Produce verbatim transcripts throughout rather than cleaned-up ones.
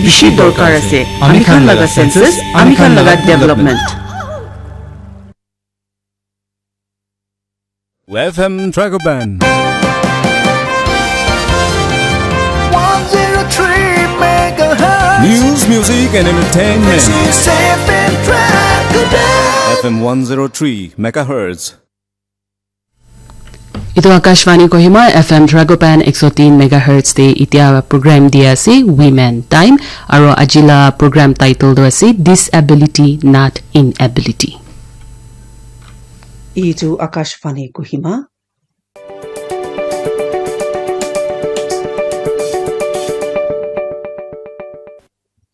bishi dorkar ase. Ami khan laga census, ami khan laga development. F M Dragoban. One zero three megahertz. News, music, and entertainment. This is F M Dragoban. F M one zero three megahertz. Itu Akashvani Kohima, F M Dragoban ek so tin megahertz te itia program dia ase, Women Time, aro ajila program title tu ase, Disability Not Inability. Itu Akashvani Kohima.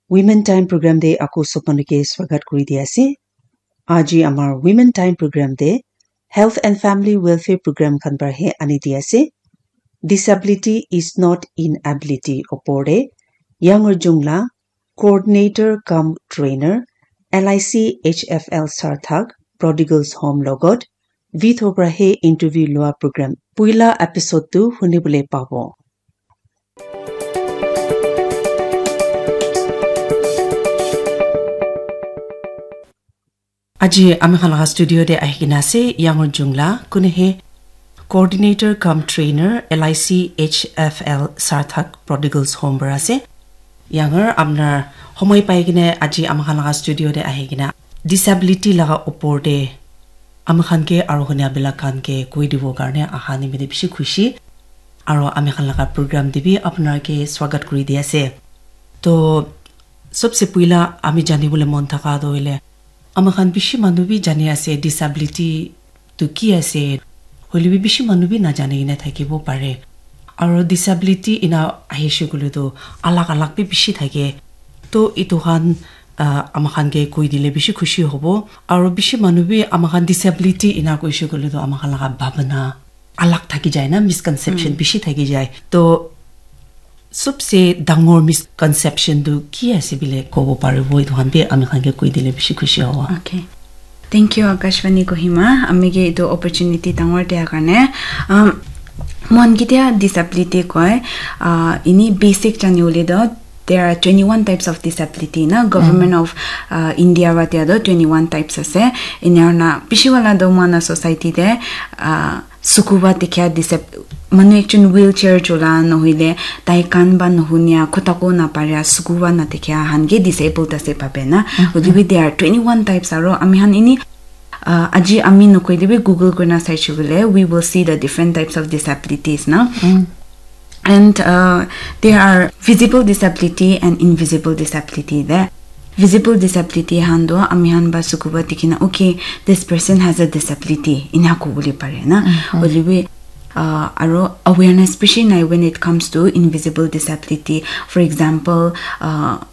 Women Time program te aku sob manu ke swagat kuri dia ase. Aji amar Women Time program te Health and Family Welfare program khan para he ani dia ase. Disability is not inability opor te Younger Jungla, coordinator cum trainer, L I C H F L Sarthak, Prodigal's Home logot, Vitho para he interview lua program. Puila episode tu hunibole pabo. Aji ami khan laga studio te ahi kena ase, Younger Jungla, kune he coordinator cum trainer, L I C H F L Sarthak Prodigal's Home para ase. Younger, apnar homoi pai kena aji ami khan laga studio te ahi kena disability laga opor te ami khan ke aro hunia bilak khan ke koi dibo karne aha nimite bishi khushi. Aro ami khan laga program te bi apnar ke swagat kuri di ase. To, sobse puila ami janibole mon thaka to hoile, ami khan bishi manu bi jani ase disability tu ki ase, hoile bi bishi manu bi najani kena thakibo pare. Aro disability ina ahishe koile to alag alag bi bishi thake. To itu khan, ah, ami khan ke koi dile bishi khushi hobo. Aro bishi manu bi ami khan disability ina koishe koile to ami khan laga bhabana alag thaki jai na, misconception bishi thaki jai. To, sobse dangor misconception tu ki ase bile kobo paribo, itu khan bi ami khan ke koi dile bishi khushi hobo. Okay. Thank you, Akashvani Kohima. Ami ke itu opportunity dangor dia karne. Um, mon kitia disability koi, uh, ini basic jani ule do, there are twenty-one types of disability na. Government of, uh, India wa dia do twenty-one types ase. Inyar na bishi wala do mana society de, uh, sukuba tikhia disab-, manu ekjon wheelchair chola nohoile tai kan ba nohunia, khotako naparia, sukuba natikhia han ke disabled ase bhabe na. Hoile bi there are twenty-one types aro ami han ini, uh, aji ami nokoile bi Google kurina saishe koile, we will see the different types of disabilities na. And, uh, there are visible disability and invisible disability de. Visible disability han do ami han ba sukuba dikhina, okay, this person has a disability, ina kobole pare na. Hoile bi, uh, aro awareness bishi nai when it comes to invisible disability. For example, uh,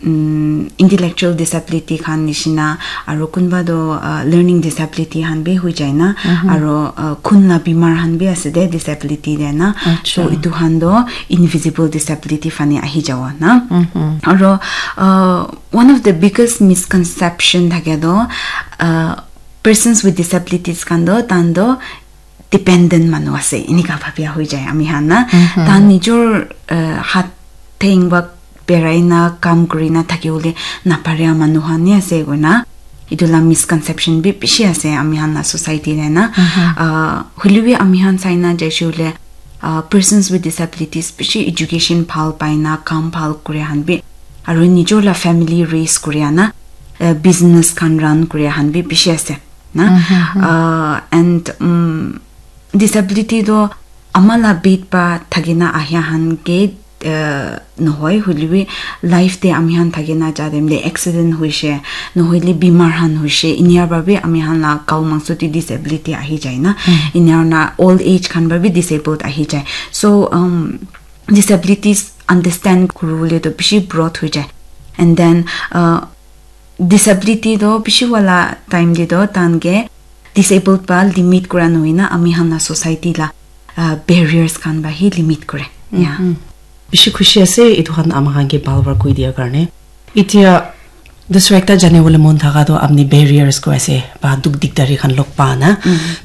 mm, intellectual disability khan nishina, aro kunba do, uh, learning disability khan bi hui jai na, aro, uh, khun la bimar khan bi ase de disability de na. So itu khan do invisible disability fani ahi jawa na. Aro, uh, one of the biggest misconception thake do, uh, persons with disabilities khan do, tan do dependent manu ase, enika bhabia hoi jai ami khan na. Tan nijor, uh, hat theng ba berai na, kam kuri na thaki bole naparia manu khan ni ase koina. Itu la misconception bi bishi ase ami khan la society te na. Uh, hoile bi ami khan sai na jaise koile, uh, persons with disabilities bishi education bhal pai na, kam bhal kuri khan bi, aro nijor la family raise kuri na, uh, business khan run kuri khan bi bishi ase na. Uh, and, um, disability do ama la bed pa thakina ahia khan ke, uh, nohoi, hoile bi life te ami khan thakina ja time te accident hoishe, nohoile bimar khan hoishe, inia para bi ami khan la gao mangso te disability ahi jai na, inia na old age khan para bi disabled ahi jai. So, um, disabilities understand kuribole to bishi broad hoi jai. And then, uh, disability to bishi wala time te to tan ke disabled pa limit kura nohoi na ami khan la society la, uh, barriers khan pa hi limit kure. Yeah. Bishi khushi ase itu khan ama khan ke bhal para koi dia karne. Itia dusra ekta jane bole mon thaka to apni barriers koi ase ba duk dikdari khan log pa na.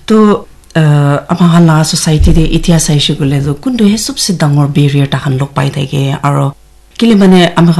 To, uh, ama khan la society te itia saishe koile to kuntu he sobse dangor barrier ta khan log pai thake aro kile mane ama khan